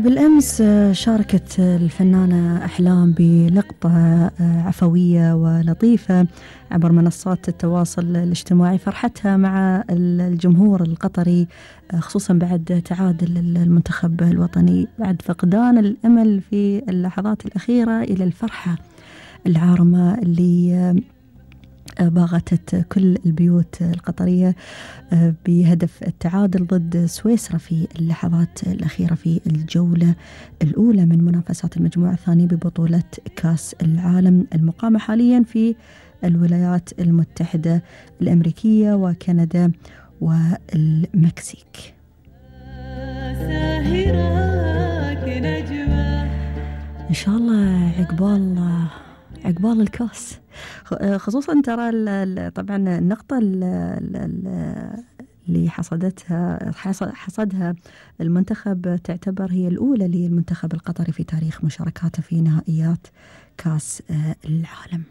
بالأمس شاركت الفنانة أحلام بلقطة عفوية ولطيفة عبر منصات التواصل الاجتماعي، فرحتها مع الجمهور القطري خصوصا بعد تعادل المنتخب الوطني، بعد فقدان الأمل في اللحظات الأخيرة إلى الفرحة العارمة اللي باغتت كل البيوت القطرية بهدف التعادل ضد سويسرا في اللحظات الأخيرة في الجولة الأولى من منافسات المجموعة الثانية ببطولة كأس العالم المقامة حاليا في الولايات المتحدة الأمريكية وكندا والمكسيك. إن شاء الله عقبال الكاس، خصوصا ترى طبعا النقطة اللي حصدها المنتخب تعتبر هي الأولى للمنتخب القطري في تاريخ مشاركاته في نهائيات كاس العالم.